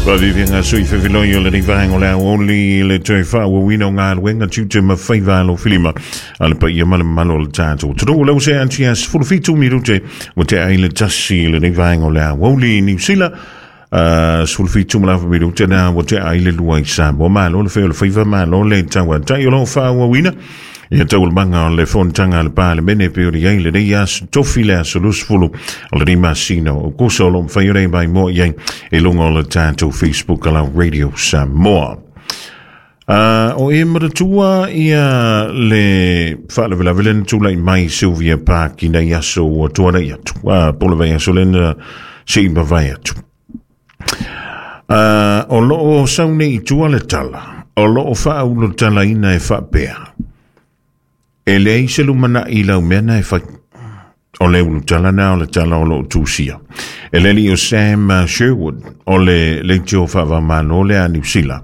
Faaviaviaga sui fefeloi o lenei vaega o le aoauli i le toe faaauauina o galuega tiute ma faiva alofilima a le paia ma le mamalu o le tatou atunuu. Lea ua sea atu ia 17 minute ua tea ai le 1 i lenei vaega o le aoauli i Niu Sila. 17 ma le afa minute na ua tea ai le 2 i Samoa. Malo le fai o le faiva, malo le tauatai o lo o faaauauina ia taualumaga o le fonotaga a le Palemene e pei ona i ai lenei aso tofi le aso 20 o lenei masina o Aokuso o lo o mafai ona e maimoa i ai i luga o le tatou Facebook a la Radio Samoa. O e manatua ia le faalavelave lea na tulai mai Sylvia Park i nai aso ua tuanai atu, po o le vaiaso lea na se i mavae atu. O lo o sau nei i tua le tala, o lo o faaulutalaina e faapea, e leai se lumanai i lau mea na e fai. O le ulutala na o le tala o lo o tusia. E le alii o Sam Sherwood, o le leitio faavamalo lea a Niu Sila.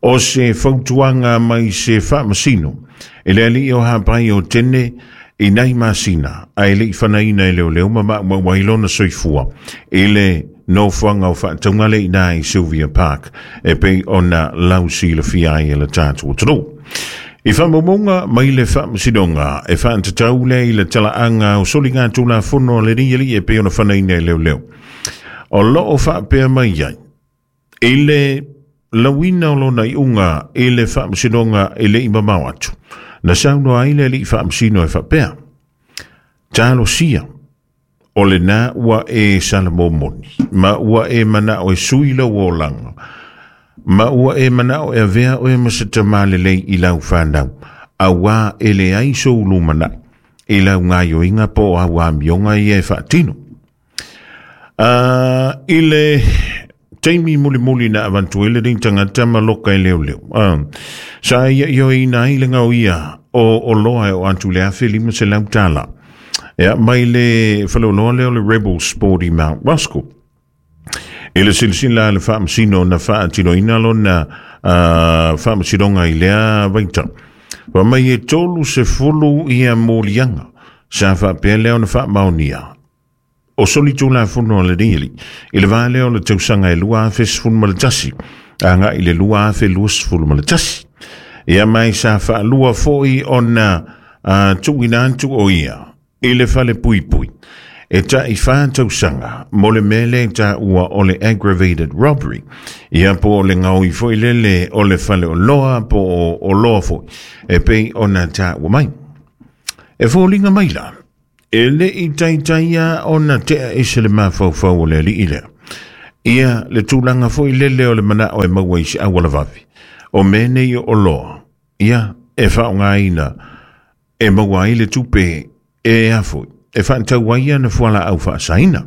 O se fautuaga mai se faamasino, e le alii o Hapai o Tene i nai masina, ae le i fanaina e leoleo ma maumau ai lona soifua i le nofoaga o faatauga lea i ina i Sylvia Park e pei ona lausilafia ai e le tatou atunuu. I faamaumauga mai le faamasinoga e faatatau lea i le talaaga o soligatulafono a lenei alii e pei ona fanaina e leoleo. O lo o faapea mai ai, i le lauina o lona iuga i le faamasinoga e le i mamao atu, na saunoa ai le alii faamasino e faapea, Talosia, o lena ua e salamomoni, ma ua e manao e sui lou olaga, ma ua e manao e avea oe ma se tamā lelei i lau fanau, auā e leai sou lumanai i lau gaioiga po o au amioga ia e faatino. I le taimi mulimuli na avantu ai lenei tagata ma loka e leoleo, sa ia ioeina ai le gaoia o oloa e oo atu i le $1,500. Ia, mai le faleoloa lea o le Rebel Sport i Mount Roskill. I le silasila a le faamasino na faatinoina lona faamasinoga i lea vaitau, fai mai e 30 ia moliaga sa faapea lea ona faamaonia o solitulafono a lenei alii i le va lea o le tausaga e 2011 agai i le 2021. Ia mai sa faalua foi ona tuuina atu o ia i le fale puipui e tai 4 tausaga mo le mea lea e taua o le aggravated robbery. Ia po o le gaoi foi lele o le fale oloa po o oloa foi e pei ona taua mai. E foliga mai la, e le i taitaia ona tea ese le mafaufau o le alii lea. Ia le tulaga foi lele o le manao e maua i se auala vave. O mea nei o oloa, ia, e faaaogaina e maua ai le tupe e a foi, e faatau ai ana fualaau faasaina.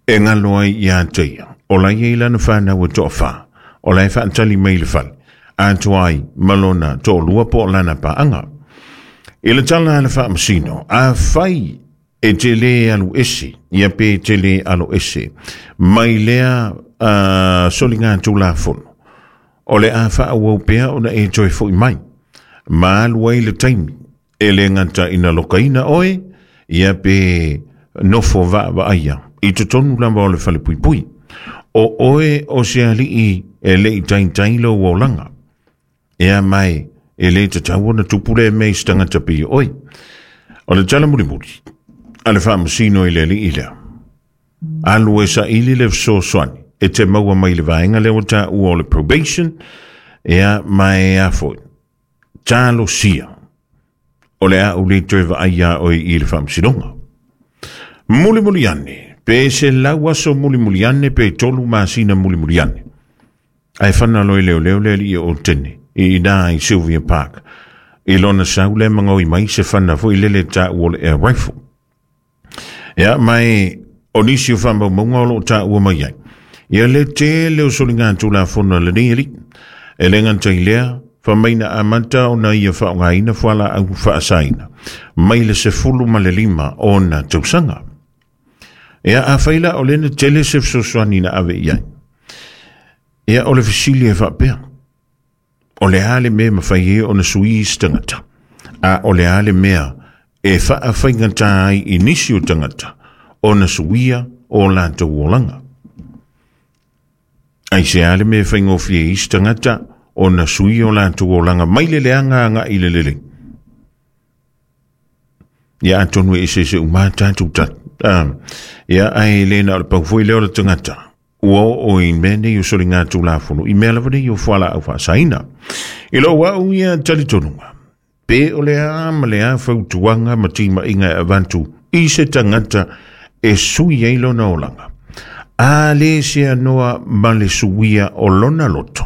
E galo ai ia te ia, o la e i ai lana fanau e toafa, o la e faatali mai i le fale, atoa ai ma lona toalua po o lana paaga. I le tala a le faamasino, afai e te lē alu ese, ia pe te lē alo ese, mai lea soligatulafono, o le a faaauau pea ona e toe foi mai, ma alu ai le taimi, e le gata ina lokaina oe, ia pe nofo vaavaaia i totonu lava o le falepuipui. O oe o se alii e le i taitai lou olaga. Ea mai, e le tatau ona tupu lea mea i se tagata pei o oe. O le tala mulimuli a le faamasino i le alii lea, alu e saili le fesoasoani e te maua mai le vaega lea ua taua o le probation, ea ma e a foi, talosia o le a ou le toe vaai iā oe i le faamasinoga. Mulimuli ane, pe 100 aso mulimuli ane, pe 3 masina mulimuli ane. Ae fana loa i leoleo le alii o Otene, i ina i Sylvia Park. I lona sau lea magaoi mai se fana foi lele taua o le air rifle. Ia, ma e o nisi o faamaumauga o lo o taua mai ai. Ia le tele o soligatulafono a lenei alii. E le gata i lea, fai mai na amata ona ia faaaogaina fualaau faasaina mai le 15 o ona tausaga. Ia, afai la o lea na tele se fesoasoani na ave i ai. Ia, o le fesili e faapea, o le a le mea e mafai ai ona sui se tagata, a o le a le mea e faafaigata ai i nisi o tagata ona suia o latou olaga. Aisea le mea e faigofie ai isi tagata ona sui o latou olaga mai le leaga agai i le lelei? Ia atonu e eseese uma tatou tali. Ia ae le na o le pau foi lea o le tagata ua oo i mea nei o soligatulafono i mea lava nei o fualaau faasaina. I lou au ia talitonuga, pe o le a ma le a fautuaga ma timaiga e avatu i se tagata e sui ai lona olaga, a le seanoa ma le suia o lona loto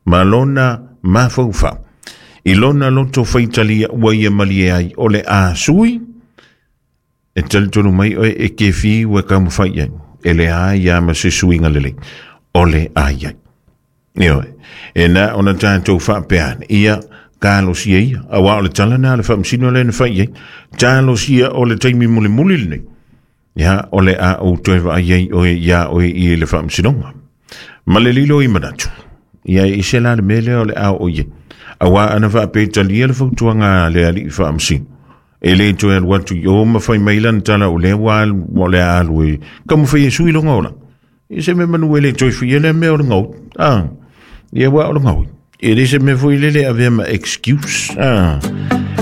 ma lona mafaufau i lona loto faitalia ua ia malie ai o le a sui, e talitonu mai oe e kefi ua taumafai i ai, e leai lava ma se suiga lelei o le a i ai. Ioe, e na ona tatou faapea ane, ia, talosia ia, auā o le tala lena a le Faamasino lea na fai i ai, talosia o le taimi mulimuli lenei, ia, o le a ou toe vaai ai oe iā oe i le Faamasinoga. Ma le lilo i manatu, ia e ese la le mea lea o le a oo i ai. Auā ana faapea e talia le fautuaga a le Alii Faamasino, e le toe alu atu i o ma fai mai lana tala o lea ua alu, o le a alu e taumafai e sui lona olaga. Ia se mea manu e le toe fuia lea mea o le gaoi. Ah, ia ua o le gaoi. E le se mea foi lele e avea ma excuse. Ah,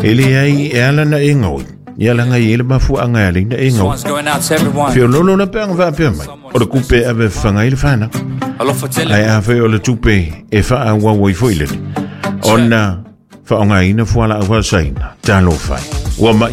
e leai e ala na e gaoi. Ia laga e i ai le mafuaaga e ala ai na e This gaoi. one's going out to everyone. Feololo la pe aga faapea mai. O le kupe e ave fafaga ai le fanau. Alofa tele. Ae afai o le tupe e faaauau ai foi lele. Ona faaaogaina fualaau faasaina. Talofa e. Ua mai.